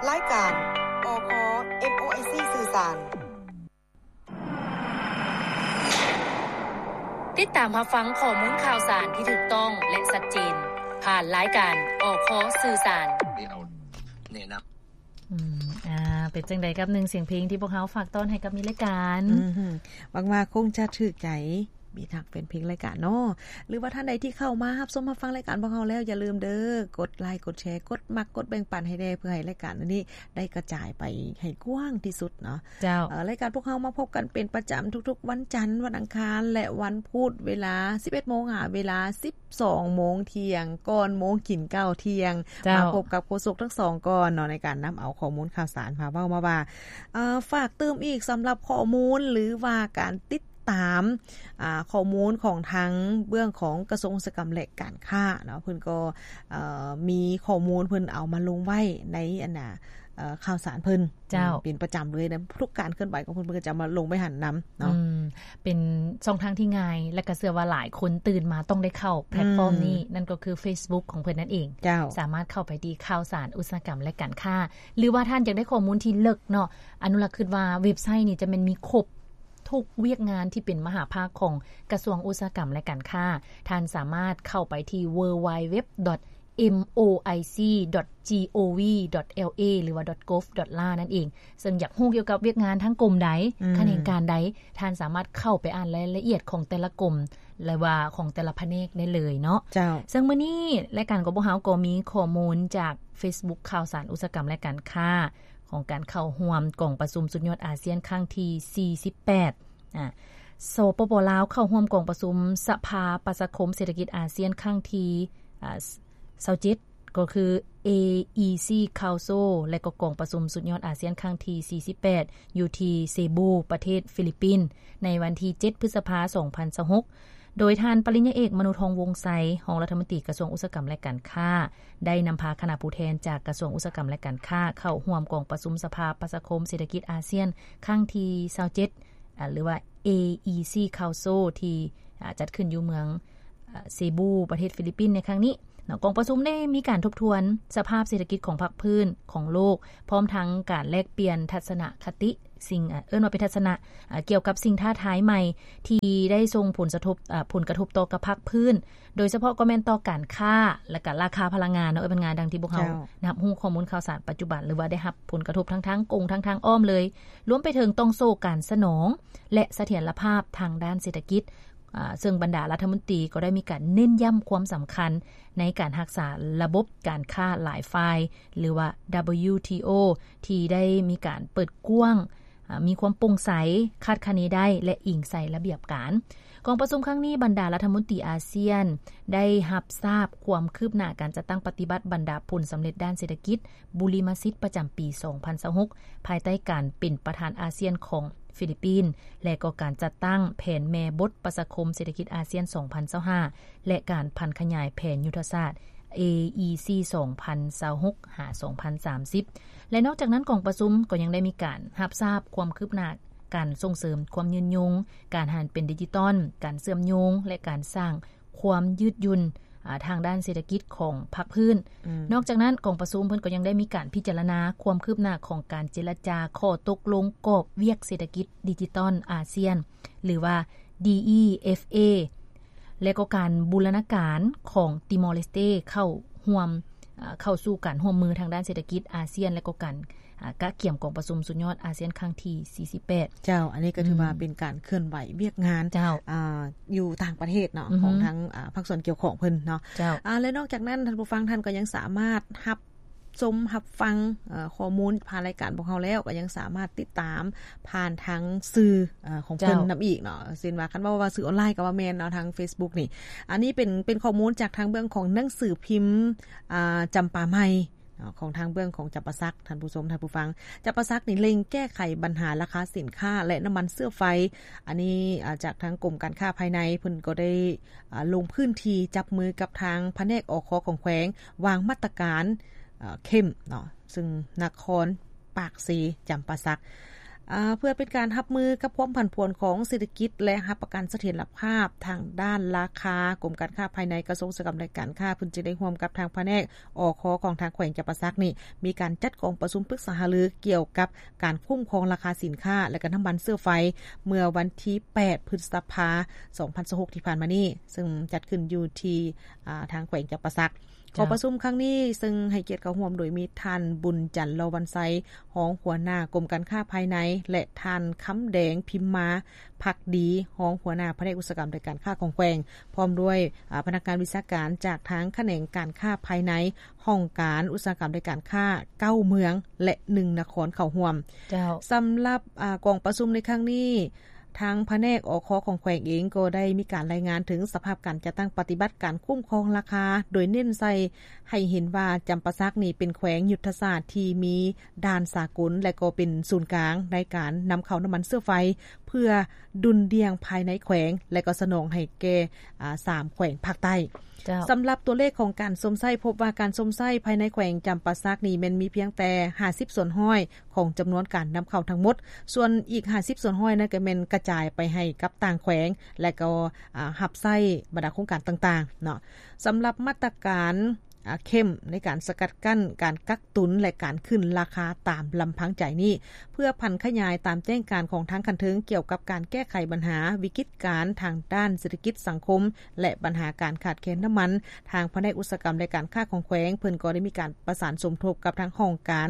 ລາຍການ ອຄ ເອັມໂອໄອຊີ ສື່ສານ. ຕິດຕາມຮັບຟັງຂໍ້ມູນຂ່າວສານທີ່ຖືກຕ້ອງ ແລະ ຊັດເຈນ ຜ່ານລາຍການ ອຄ ສື່ສານ. ອືມ ອ່າ ເປັນຈັ່ງໃດກັບໜຶ່ງສຽງເພງທີ່ພວກເຮົາຝາກຕ້ອນໃຫ້ກັບມີລາຍການ? ອືມ ຫວັງວ່າຄົງຈະຖືກໃຈ ມີທັງແຟນເພງລາຍການເນາະ ຫຼືວ່າທ່ານໃດທີ່ເຂົ້າມາຮັບຊົມຮັບຟັງລາຍການພວກເຮົາແລ້ວ ຢ່າລືມເດີ ກົດໄລ ກົດແຊ ກົດມັກ ກົດແບ່ງປັນໃຫ້ແດ່ ເພື່ອໃຫ້ລາຍການອັນນີ້ໄດ້ກະຈາຍໄປໃຫ້ກວ້າງທີ່ສຸດເນາະ. ເຈົ້າ ເອີ ລາຍການພວກເຮົາມາພົບກັນເປັນປະຈຳທຸກໆວັນຈັນ, ວັນອັງຄານ ແລະ ວັນພຸດ ເວລາສິບເອັດໂມງຫາເວລາສິບສອງໂມງທ່ຽງ ກ່ອນໂມງກິນເຂົ້າທ່ຽງ. ເຈົ້າ ມາພົບກັບໂຄສົກທັງສອງກ່ອນເນາະ ໃນການນຳເອົາຂໍ້ມູນຂ່າວສານມາເວົ້າມາວ່າ. ເອີ ຝາກຕື່ມອີກສຳລັບຂໍ້ມູນ ຫຼືວ່າການຕິດຕາມ ອ່າ ຂໍ້ມູນຂອງທາງເບື້ອງຂອງກະຊວງອຸດສາຫະກຳ ແລະ ການຄ້າເນາະ ເພິ່ນກໍ ເອີ ມີຂໍ້ມູນເພິ່ນເອົາມາລົງໄວ້ໃນ ອັນນ່າ ເອີ ຂ່າວສານເພິ່ນ. ເຈົ້າ ເປັນປະຈຳເລີຍນະ ທຸກການເຄື່ອນໄຫວຂອງເພິ່ນ ເພິ່ນກໍຈະມາລົງໄວ້ຫັ້ນນຳເນາະ. ອືມ ເປັນຊ່ອງທາງທີ່ງ່າຍ ແລະ ກໍເຊື່ອວ່າຫຼາຍຄົນຕື່ນມາຕ້ອງໄດ້ເຂົ້າແພລດຟອມນີ້ ອືມ ນັ້ນກໍຄືເຟສບຸກຂອງເພິ່ນນັ້ນເອງ. ເຈົ້າ ສາມາດເຂົ້າໄປທີ່ຂ່າວສານອຸດສາຫະກຳ ແລະ ການຄ້າ ຫຼືວ່າທ່ານຢາກໄດ້ຂໍ້ມູນທີ່ເລິກເນາະ ອະນຸລັກຄິດວ່າເວັບໄຊນີ້ຈະແມ່ນມີຄົບທຸກວຽກງານທີ່ເປັນມະຫາພາກຂອງກະຊວງອຸດສາຫະກຳ ແລະ ການຄ້າ. ທ່ານສາມາດເຂົ້າໄປທີ່ www.moic.gov.la ຫຼືວ່າ .gov.la ນັ້ນເອງ. ເຊິ່ງຢາກຮູ້ກ່ຽວກັບວຽກງານທາງກົມໃດ ອືມ ຂະແໜງການໃດ ທ່ານສາມາດເຂົ້າໄປອ່ານລາຍລະອຽດຂອງແຕ່ລະກົມ ຫຼືວ່າຂອງແຕ່ລະພະແນກໄດ້ເລີຍເນາະ. ເຈົ້າ ເຊິ່ງມື້ນີ້ລາຍການຂອງພວກເຮົາກໍມີຂໍ້ມູນຈາກເຟສບຸກຂ່າວສານອຸດສາຫະກຳ ແລະ ການຄ້າ ຂອງການເຂົ້າຮ່ວມກອງປະຊຸມສຸດຍອດອາຊຽນຄັ້ງທີສີ່ສິບແປດ. ອາ ສປປ ລາວ ເຂົ້າຮ່ວມກອງປະຊຸມສະພາປະຊາຄົມເສດຖະກິດອາຊຽນຄັ້ງທີ ອາ ຊາວເຈັດ ກໍຄື ເອອີຊີ Council ແລະ ກໍກອງປະຊຸມສຸດຍອດອາຊຽນຄັ້ງທີສີ່ສິບແປດ ຢູ່ທີ່ເຊບູ ປະເທດຟີລິບປິນ ໃນວັນທີເຈັດ ພຶດສະພາ ສອງພັນຊາວຫົກ ໂດຍທ່ານປະລິນຍາເອກ ມະນຸ ທອງວົງໄຊ ຮອງລັດຖະມົນຕີກະຊວງອຸດສາຫະກຳ ແລະ ການຄ້າ ໄດ້ນຳພາຄະນະຜູ້ແທນຈາກກະຊວງອຸດສາຫະກຳ ແລະ ການຄ້າ ເຂົ້າຮ່ວມກອງປະຊຸມສະພາປະຊາຄົມເສດຖະກິດອາຊຽນຄັ້ງທີຊາວເຈັດ ອາ ຫຼືວ່າ ເອອີຊີ Council ທີ່ ອາ ຈັດຂຶ້ນຢູ່ເມືອງ ອາ ເຊບູ ປະເທດຟີລິບປິນໃນຄັ້ງນີ້ເນາະ. ກອງປະຊຸມໄດ້ມີການທົບທວນສະພາບເສດຖະກິດຂອງພາກພື້ນຂອງໂລກ ພ້ອມທັງການແລກປ່ຽນທັດສະນະຄະຕິ ສິ່ງ ເອີ້ນວ່າເປັນທັດສະນະ ອາ ກ່ຽວກັບສິ່ງທ້າທາຍໃໝ່ທີ່ໄດ້ສົ່ງຜົນສະທົບ ອາ ຜົນກະທົບຕໍ່ກັບພາກພື້ນ ໂດຍສະເພາະກໍແມ່ນຕໍ່ການຄ້າ ແລະ ກະລາຄາພະລັງງານເນາະ ເອີ ເປັນງານດັ່ງທີ່ພວກເຮົາ ເຈົ້າ ຮັບຮູ້ຂໍ້ມູນຂ່າວສານປັດຈຸບັນ ຫຼືວ່າໄດ້ຮັບຜົນກະທົບທັງທາງກົງ ທັງທາງອ້ອມເລີຍ ລວມໄປເຖິງຕ່ອງໂສ້ການສະໜອງ ແລະ ສະຖຽນລະພາບທາງດ້ານເສດຖະກິດ ອາ ເຊິ່ງບັນດາລັດຖະມົນຕີກໍໄດ້ມີການເນັ້ນຢ້ຳຄວາມສຳຄັນໃນການຮັກສາລະບົບການຄ້າຫຼາຍຝ່າຍ ຫຼືວ່າ ດັບເບິນຢູ ທີ ໂອ ທີ່ໄດ້ມີການເປີດກວ້າງ ອາ ມີຄວາມໂປ່ງໃສ, ຄາດຄະເນໄດ້ ແລະ ອີງໃສ່ລະບຽບການ. ກອງປະຊຸມຄັ້ງນີ້ ບັນດາລັດຖະມົນຕີອາຊຽນໄດ້ຮັບຊາບຄວາມຄືບໜ້າການຈັດຕັ້ງປະຕິບັດບັນດາຜົນສຳເລັດດ້ານເສດຖະກິດ, ບຸລິມະສິດປະຈຳປີສອງພັນຊາວຫົກ ພາຍໃຕ້ການເປັນປະທານອາຊຽນຂອງຟີລິບປິນ ແລະ ກໍການຈັດຕັ້ງແຜນແມ່ບົດປະຊາຄົມເສດຖະກິດອາຊຽນສອງພັນຊາວຫ້າ ແລະ ການຜັນຂະຫຍາຍແຜນຍຸດທະສາດ ເອອີຊີ ສອງພັນຊາວຫົກ ຫາ ສອງພັນສາມສິບ ແລະ ນອກຈາກນັ້ນ ກອງປະຊຸມກໍຍັງໄດ້ມີການຮັບຊາບຄວາມຄືບໜ້າການສົ່ງເສີມຄວາມຍືນຍົງ, ການຫັນເປັນດິຈິຕອນ, ການເຊື່ອມໂຍງ ແລະ ການສ້າງຄວາມຍືດຫຍຸ່ນ ອາ ທາງດ້ານເສດຖະກິດຂອງພາກພື້ນ. ອືມ ນອກຈາກນັ້ນ ກອງປະຊຸມເພິ່ນກໍຍັງໄດ້ມີການພິຈາລະນາຄວາມຄືບໜ້າຂອງການເຈລະຈາຂໍ້ຕົກລົງກອບວຽກເສດຖະກິດດິຈິຕອນອາຊຽນ ຫຼືວ່າ ດີອີເອັຟເອ ແລະ ກໍການບູລະນາການຂອງຕີມໍເລສເຕເຂົ້າຮ່ວມ ເຂົ້າສູ່ການຮ່ວມມືທາງດ້ານເສດຖະກິດອາຊຽນ ແລະ ກໍການ ອາ ກະກຽມກອງປະຊຸມສຸດຍອດອາຊຽນຄັ້ງທີສີ່ສິບແປດ. ເຈົ້າ ອັນນີ້ກໍຖືວ່າ ອືມ ເປັນການເຄື່ອນໄຫວວຽກງານ ເຈົ້າ ອາ ຢູ່ຕ່າງປະເທດເນາະ ອືຮຶ ຂອງທາງ ອາ ພາກສ່ວນກ່ຽວຂ້ອງເພິ່ນເນາະ. ເຈົ້າ ອາ ແລະ ນອກຈາກນັ້ນ ທ່ານຜູ້ຟັງທ່ານກໍຍັງສາມາດຮັບຊົມຮັບຟັງ ເອີ ຂໍ້ມູນຜ່ານລາຍການພວກເຮົາແລ້ວ ກໍຍັງສາມາດຕິດຕາມຜ່ານທາງສື່ ເອີ ຂອງເພິ່ນ ເຈົ້າ ນຳອີກເນາະ. ເຊັ່ນວ່າ ຄັນເວົ້າວ່າສື່ອອນລາຍກໍວ່າແມ່ນເນາະ ທາງເຟສບຸກນີ້. ອັນນີ້ເປັນ ເປັນຂໍ້ມູນຈາກທາງເບື້ອງຂອງໜັງສືພິມ ອາ ຈຳປາໃໝ່ ເນາະ ຂອງທາງເບື້ອງຂອງຈຳປາສັກ ທ່ານຜູ້ຊົມ ທ່ານຜູ້ຟັງ. ຈຳປາສັກນີ້ເລັ່ງແກ້ໄຂບັນຫາລາຄາສິນຄ້າ ແລະ ນ້ຳມັນເຊື້ອໄຟ. ອັນນີ້ ອາ ຈາກທາງກົມການຄ້າພາຍໃນ ເພິ່ນກໍໄດ້ ອາ ລົງພື້ນທີ່ຈັບມືກັບທາງພະແນກ ອຄ ຂອງແຂວງ ວາງມາດຕະການ ເອີ ເຂັ້ມເນາະ ເຊິ່ງນະຄອນປາກເຊ ຈຳປາສັກ. ເພື່ອເປັນການຮັບມືກັບຄວາມຜັນຜວນຂອງເສດຖະກິດ ແລະ ຮັບປະກັນສະຖຽນລະພາບທາງດ້ານລາຄາ, ກົມການຄ້າພາຍໃນ ກະຊວງອຸດສາຫະກຳ ແລະ ການຄ້າ ເພິ່ນຈຶ່ງໄດ້ຮ່ວມກັບທາງພະແນກ ອຄ ຂອງທາງແຂວງຈຳປາສັກນີ້ ມີການຈັດກອງປະຊຸມປຶກສາຫາລືກ່ຽວກັບການຄຸ້ມຄອງລາຄາສິນຄ້າ ແລະ ກະນ້ຳມັນເຊື້ອໄຟ ເມື່ອວັນທີແປດ ພຶດສະພາ ສອງພັນຊາວຫົກ ທີ່ຜ່ານມານີ້ ເຊິ່ງຈັດຂຶ້ນຢູ່ທີ່ ອາ ທາງແຂວງຈຳປາສັກ. ເຈົ້າ. ກອງປະຊຸມຄັ້ງນີ້ ເຊິ່ງໃຫ້ກຽດເຂົ້າຮ່ວມໂດຍມີທ່ານ ບຸນຈັນ ລໍວັນໄຊ ຮອງຫົວໜ້າກົມການຄ້າພາຍໃນ ແລະ ທ່ານ ຄຳແດງ ພິມມາພັກດີ ຮອງຫົວໜ້າພະແນກອຸດສາຫະກຳ ແລະ ການຄ້າຂອງແຂວງ ພ້ອມດ້ວຍ ອາ ພະນັກງານວິຊາການຈາກທາງຂະແໜງການຄ້າພາຍໃນ ຫ້ອງການອຸດສາຫະກຳ ແລະ ການຄ້າ ເກົ້າເມືອງ ແລະ ໜຶ່ງນະຄອນເຂົ້າຮ່ວມ. ເຈົ້າ. ສຳລັບ ອາ ກອງປະຊຸມໃນຄັ້ງນີ້ ທາງພະແນກ ອຄ ຂອງແຂວງເອງກໍໄດ້ມີການລາຍງານເຖິງສະພາບການຈັດຕັ້ງປະຕິບັດການຄຸ້ມຄອງລາຄາ ໂດຍເນັ້ນໃສ່ໃຫ້ເຫັນວ່າ ຈຳປາສັກນີ້ເປັນແຂວງຍຸດທະສາດທີ່ມີດ່ານສາກົນ ແລະ ກໍເປັນສູນກາງໃນການນຳເຂົ້ານ້ຳມັນເຊື້ອໄຟ ເພື່ອດຸ່ນດ່ຽງພາຍໃນແຂວງ ແລະ ກໍສະໜອງໃຫ້ແກ່ ອາ ສາມແຂວງພາກໃຕ້. ເຈົ້າ. ສຳລັບຕົວເລກຂອງການຊົມໃຊ້ ພົບວ່າການຊົມໃຊ້ພາຍໃນແຂວງຈຳປາສັກນີ້ແມ່ນມີພຽງແຕ່ຫ້າສິບສ່ວນຮ້ອຍຂອງຈຳນວນການນຳເຂົ້າທັງໝົດ, ສ່ວນອີກຫ້າສິບສ່ວນຮ້ອຍນັ້ນກໍແມ່ນກະຈາຍໄປໃຫ້ກັບຕ່າງແຂວງ ແລະ ກໍ ອາ ຮັບໃຊ້ບັນດາໂຄງການຕ່າງໆເນາະ. ສຳລັບມາດຕະການ ອາ ເຂັ້ມໃນການສະກັດກັ້ນການກັກຕຸນ ແລະ ການຂຶ້ນລາຄາຕາມລຳພັງໃຈນີ້ ເພື່ອຜັນຂະຫຍາຍຕາມແຈ້ງການຂອງທາງຂັ້ນເທິງກ່ຽວກັບການແກ້ໄຂບັນຫາວິກິດການທາງດ້ານເສດຖະກິດສັງຄົມ ແລະ ບັນຫາການຂາດແຄນນ້ຳມັນ, ທາງພະແນກອຸດສາຫະກຳ ແລະ ການຄ້າຂອງແຂວງ ເພິ່ນກໍໄດ້ມີການປະສານສົມທົບກັບທາງຫ້ອງການ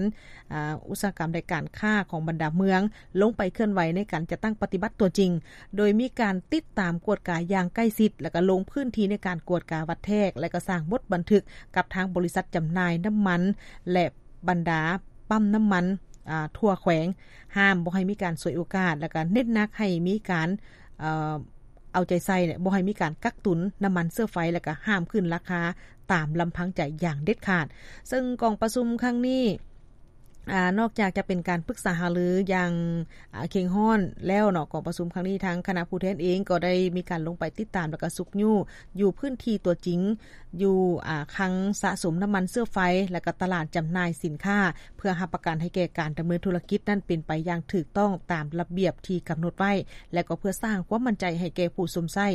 ອາ ອຸດສາຫະກຳ ແລະ ການຄ້າຂອງບັນດາເມືອງ ລົງໄປເຄື່ອນໄຫວໃນການຈັດຕັ້ງປະຕິບັດຕົວຈິງ, ໂດຍມີການຕິດຕາມກວດກາຢ່າງໃກ້ຊິດ ແລະ ກໍລົງພື້ນທີ່ໃນການກວດກາວັດແທກ ແລະ ກໍສ້າງບົດບັນທຶກກັບທາງບໍລິສັດຈຳໜ່າຍນ້ຳມັນ ແລະ ບັນດາປ້ຳນ້ຳມັນ ອາ ທົ່ວແຂວງ, ຫ້າມບໍ່ໃຫ້ມີການສວຍໂອກາດ ແລະ ກໍເນັ້ນໜັກໃຫ້ມີການ ເອີ ເອົາໃຈໃສ່ ແລະ ບໍ່ໃຫ້ມີການກັກຕຸນນ້ຳມັນເຊື້ອໄຟ ແລະ ກໍຫ້າມຂຶ້ນລາຄາຕາມລຳພັງໃຈຢ່າງເດັດຂາດ. ເຊິ່ງກອງປະຊຸມຄັ້ງນີ້ ອາ ນອກຈາກຈະເປັນການປຶກສາຫາລືຢ່າງ ອາ ເຄັ່ງຮ້ອນແລ້ວເນາະ, ກອງປະຊຸມຄັ້ງນີ້ ທາງຄະນະຜູ້ແທນເອງກໍໄດ້ມີການລົງໄປຕິດຕາມ ແລະ ກໍຊຸກຍູ້ຢູ່ພື້ນທີ່ຕົວຈິງ ຢູ່ ອາ ຄັງສະສົມນ້ຳມັນເຊື້ອໄຟ ແລະ ກໍຕະຫຼາດຈຳໜ່າຍສິນຄ້າ ເພື່ອຮັບປະກັນໃຫ້ແກ່ການດຳເນີນທຸລະກິດນັ້ນເປັນໄປຢ່າງຖືກຕ້ອງຕາມລະບຽບທີ່ກຳນົດໄວ້ ແລະ ກໍເພື່ອສ້າງຄວາມໝັ້ນໃຈໃຫ້ແກ່ຜູ້ຊົມໃຊ້.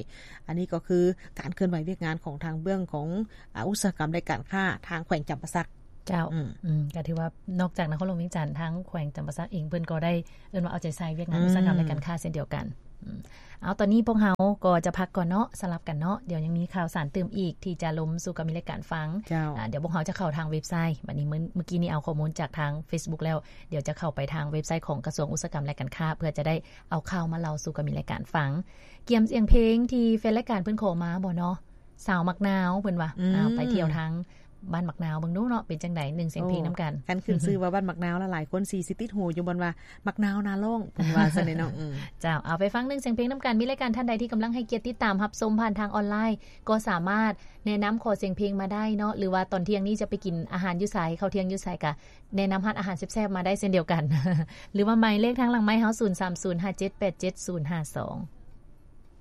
ອັນນີ້ກໍຄືການເຄື່ອນໄຫວວຽກງານຂອງທາງເບື້ອງຂອງ ອາ ອຸດສາຫະກຳ ແລະ ການຄ້າທາງແຂວງຈຳປາສັກ. ເຈົ້າ. ອືມ ອືມ ກໍຖືວ່ານອກຈາກນະຄອນຫຼວງວຽງຈັນ ທາງແຂວງຈຳປາສັກເອງເພິ່ນກໍໄດ້ ເອີ້ນວ່າເອົາໃຈໃສ່ວຽກງານ ອືມ ອຸດສາຫະກຳ ແລະ ການຄ້າເຊັ່ນດຽວກັນ. ອືມ ເອົາ ຕອນນີ້ພວກເຮົາກໍຈະພັກກ່ອນເນາະ, ສະຫຼັບກັນເນາະ, ດຽວຍັງມີຂ່າວສານຕື່ມອີກທີ່ຈະລົມສູ່ກັບມິດ ແລະ ການຟັງ. ເຈົ້າ. ອາ ດຽວພວກເຮົາຈະເຂົ້າທາງເວັບໄຊ, ບັດນີ້ມື້ ມື້ກີ້ນີ້ເອົາຂໍ້ມູນຈາກທາງເຟສບຸກແລ້ວ, ດຽວຈະເຂົ້າໄປທາງເວັບໄຊຂອງກະຊວງອຸດສາຫະກຳ ແລະ ການຄ້າ ເພື່ອຈະໄດ້ເອົາຂ່າວມາເລົ່າສູ່ກັບມິດ ແລະ ການຟັງ. ກຽມສຽງເພງທີ່ແຟນລາຍການເພິ່ນຂໍມາບໍ່ເນາະ? ສາວໝາກນາວ ເພິ່ນວ່າ. ອືມ ອາ ໄປທ່ຽວທາງບ້ານໝາກນາວເບິ່ງດູເນາະ ເປັນຈັ່ງໃດ ໜຶ່ງສຽງເພງນຳກັນ. ໂອ້ ຄັນຂຶ້ນຊື່ວ່າບ້ານໝາກນາວລະ ຫຼາຍຄົນຊິ ຊິຕິດຫູຢູ່ບ່ອນວ່າໝາກນາວນາຮ້ອງ ເພິ່ນວ່າຊັ້ນເດເນາະ. ອືມ ເຈົ້າ. ເອົາ ໄປຟັງໜຶ່ງສຽງເພງນຳກັນ. ມີລາຍການທ່ານໃດທີ່ກຳລັງໃຫ້ກຽດຕິດຕາມຮັບຊົມຜ່ານທາງອອນລາຍ ກໍສາມາດແນະນຳຂໍສຽງເພງມາໄດ້ເນາະ ຫຼືວ່າຕອນທ່ຽງນີ້ຈະໄປກິນອາຫານຢູ່ໃສ ເຂົ້າທ່ຽງຢູ່ໃສ ກະແນະນຳຮ້ານອາຫານແຊບໆມາໄດ້ເຊັ່ນດຽວກັນ ຫຼືວ່າໝາຍເລກທາງຫຼັງໄມເຮົາ ສູນສາມສູນ ຫ້າເຈັດແປດເຈັດ ສູນຫ້າສອງ.